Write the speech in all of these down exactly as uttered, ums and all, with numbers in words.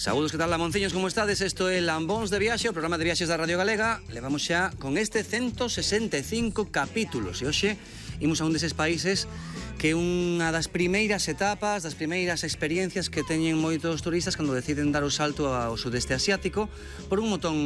Saúdos, que tal, lamonciños, como estades? Isto é Lambóns de Viaxe, o programa de viaxes da Radio Galega. Levamos xa con este ciento sesenta e cinco capítulos e hoxe imos a un deses países que é unha das primeiras etapas, das primeiras experiencias que teñen moitos turistas cando deciden dar o salto ao sudeste asiático por un montón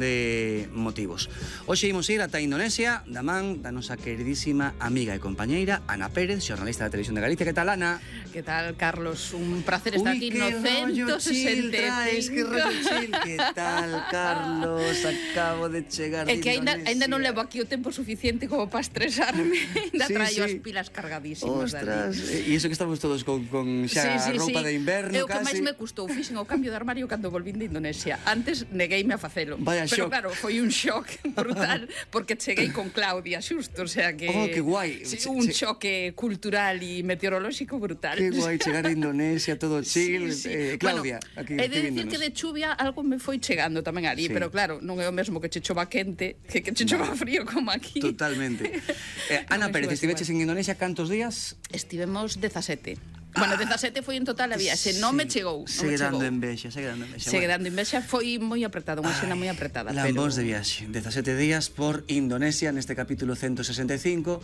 de motivos. Hoxe imos ir ata Indonesia da man da nosa queridísima amiga e compañeira Ana Pérez, xornalista da Televisión de Galicia. Que tal, Ana? Que tal, Carlos? Un placer estar aquí no ciento sesenta e cinco. Que rollo chill. Que tal, Carlos? Acabo de chegar de É que ainda, Indonesia. ainda non levo aquí o tempo suficiente como para estresarme. Ainda Sí, traio sí. as pilas cargadísimas. Ostras, dali. e iso que estamos todos con, con xa Sí, sí, roupa sí. de inverno, É o que casi. máis me custou. Fixen o cambio de armario cando volvín de Indonesia. Antes negueime a facelo. Vaya Pero shock. claro, foi un shock brutal porque cheguei con Claudia xusto, o sea que... Oh, que guai. Sí, Se- un se- choque cultural e meteorolóxico brutal. Que guai chegar a Indonesia, todo chill. Sí, sí. Eh, Claudia, bueno, aquí he de dicir escribíndonos. que de chuvia algo me foi chegando tamén ali, Sí. pero claro, non é o mesmo que che chova quente que que che chova frío como aquí. Totalmente. Eh, Ana Non me Pérez, subas estiveches igual. en Indonesia cantos días? Estivemos dezasete. Bueno, dezasete foi en total a viaxe, non me chegou, non me Segue dando chegou. envexa, segue dando envexa. Segue Bueno. dando envexa, foi moi apretada, unha xena moi apretada, Lambóns de pero viaxe, dezasete días por Indonesia neste capítulo ciento sesenta e cinco.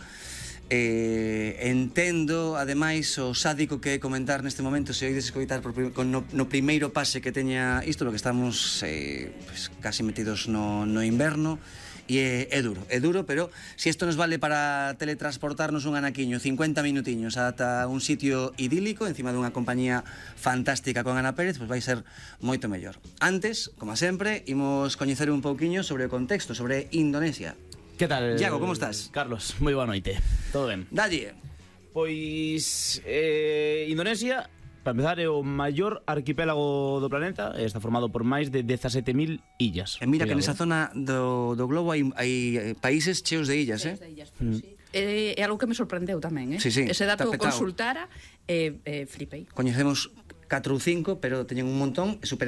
Eh, entendo, ademais, o sádico que é comentar neste momento, se oides escoitar por, prim- con no, no primeiro pase que teña isto, porque estamos eh, pues, casi metidos no, no inverno, e é, é duro, é duro, pero se isto nos vale para teletransportarnos un anaquiño, cincuenta minutiños ata un sitio idílico, encima dunha compañía fantástica con Ana Pérez, pois vai ser moito mellor. Antes, como sempre, imos coñecer un pouquiño sobre o contexto, sobre Indonesia. Que tal? Iago, como estás? Carlos, moi boa noite. Todo ben? Dalle. Pois eh, Indonesia, para empezar, é o maior arquipélago do planeta. Está formado por máis de dezasete mil illas. E mira que Cuidado, nesa eh. zona do, do globo hai, hai eh, países cheos de illas, eh? É, é algo que me sorprendeu tamén, eh? Sí, sí, Ese dato o tapetao. consultara e eh, eh, flipei. Coñecemos catro ou cinco, pero teñen un montón e super